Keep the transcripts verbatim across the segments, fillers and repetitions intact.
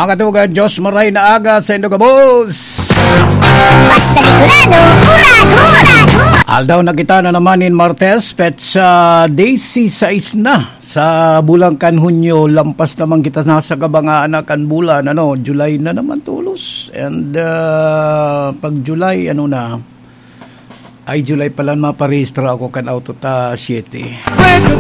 Mga katugang, Diyos maray na aga sa indo gabos. Basta Bicolano, Uragon! Aldaw na kita na naman nin Martes, petsa dise seis na sa bulan kan Hunyo. Lampas naman kita na sa kabangaan na kan bulan, ano, July na naman tulos. And, ah, pag July, ano na, ay, July pala, maparehistro ako kan auto ta, siyete.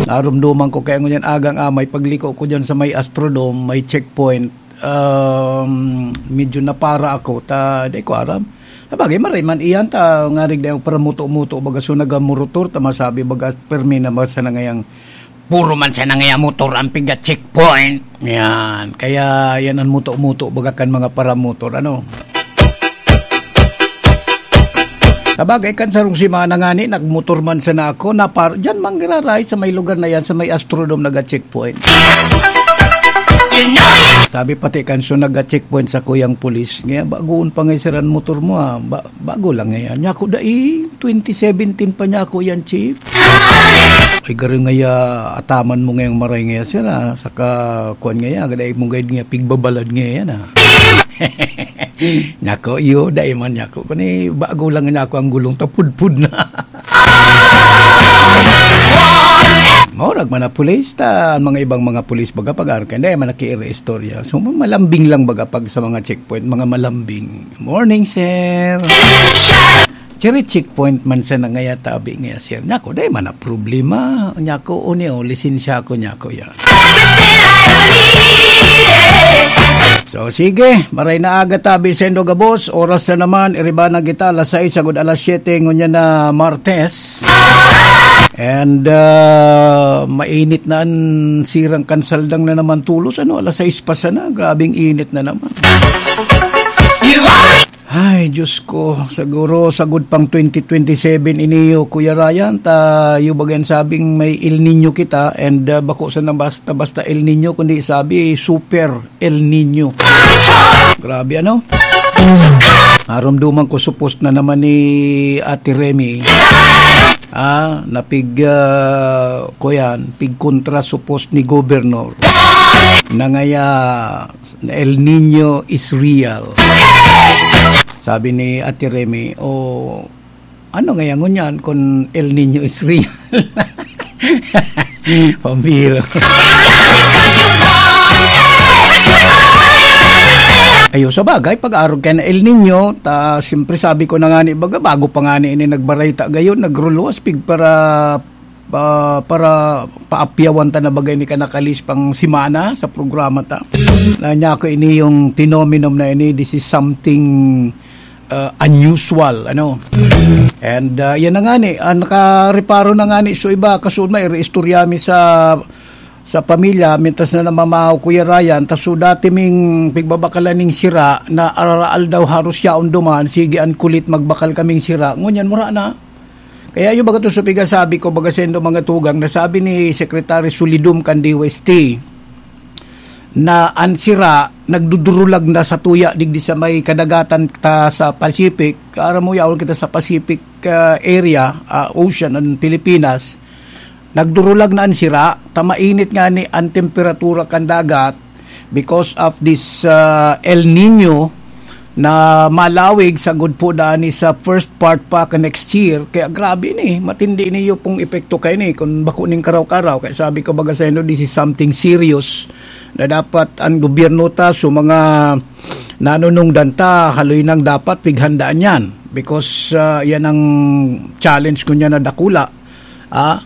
Narumduman ko kaya ngunyan agang amay, pagliko ko dyan sa may Astrodome, may checkpoint. Um, medyo napara ako, ta, di ko aram. Sabagay, maray man iyan, ta, ngarig na yung paramuto-muto, baga, so, nagamurotor, ta, masabi, baga, permi na, baga, sa nangayang puro man sana ngaya motor ang piga checkpoint. Yan. Kaya yan ang muto-muto, baga kan mga paramotor, ano. Sabagay, kan sarong semana ngani, nagmotor man sana ako, napar-, dyan manggiraray sa may lugar na yan, sa may Astrodome naga-checkpoint. Sabi pati kan so naga-checkpoint sa kuyang pulis, ngaya, "Bagoon pa nga siran motor mo, ah. Ba-, bago lang ngayon." Niya ako, "Dai, twenty seventeen pa niya ako yan, chief." Ay, garo ngaya, ataman mo ngayang maray ngaya, sir, ah. Saka, kuwan ngaya, dai mo gayod nga pigbabalad ngaya yan, ah. Nako, iyo, dai man nako. Kani, bago lang nako ang gulong, tapudpud na. Maurag man na pulis, ta ang mga ibang mga pulis, baga, pag-arkan, dai man nakiiri istorya. So, malambing lang, baga, pag sa mga checkpoint, mga malambing. "Morning, sir." Chiri checkpoint man sana ngaya tabi ngaya, sir. Nako, dai man na problema. Nako, uni, o, lisensya ko, nako, ya. So, sige, maray na aga tabi sendo gabos. Oras na naman, iriba na kita, alas sais agud alas siyete, ngunyan na Martes. And, ah, mainit na an sirang kansaldang na naman tulos, ano, alas sais pa sana. Grabing init na naman. Ay, Diyos ko, siguro sagud pang twenty twenty-seven iniyo, Kuya Ryan, ta, yung baga yan sabing may El Niño kita, and, ah, bako sana basta-basta El Niño, kundi sabi, Super El Niño. Grabe, ano? Narumduman ko, supos na naman ni Ate Remy. Ah, napig, ah, kuyan, pigkontra supos ni Governor. Nangaya, El Niño is real. Sabi ni Ate Remy, "O, ano ngaya ngunyan kung El Niño is real?" Pambiro. Ayo, sa bagay, pag-arog ka na El Niño, ta, siyempre sabi ko na nga ni, baga, bago pa nga ni ini nagbareta gayon, nagruluwas, pig para pa-, para paapyawan ta na bagay ni kanakalis pang semana sa programa ta. Na niya ako ini yung phenomenon na ini, this is something, uh, unusual, ano. And, uh, yan na nga ni, ah, nakareparo na nga ni, so iba, kasunod na, iriistorya mi sa, sa pamilya, mientras na namamahaw, Kuya Ryan, ta so dati ming pigbabakalan ning sira, na araal daw haros yaon duman, sige, an kulit magbakal kaming sira. Ngunyan, mura na. Kaya yung baga to sa pigasabi ko, baga sendo mga tugang, na sabi ni Secretary Solidum kan D O S T, na an sira nagdudurulag na sa tuya digdi sa may kadagatan ta sa Pacific. Aram mo, yaon kita sa Pacific, ah, area, ah, Ocean, ang Pilipinas. Nagdurulag na an sira, ta mainit nga ni an temperatura kan dagat because of this, ah, El Nino na malawig sagud po daan sa first part pa ka next year. Kaya grabe ni, matindi niyo pong epekto kayo ni, kung bako ning karaw-karaw. Kaya sabi ko, baga sa inyo, this is something serious na dapat ang gobyerno ta, so mga nanunungdan ta, haloy nang dapat pighandaan yan. Because, ah, yan ang challenge ko niya na dakula. Ah,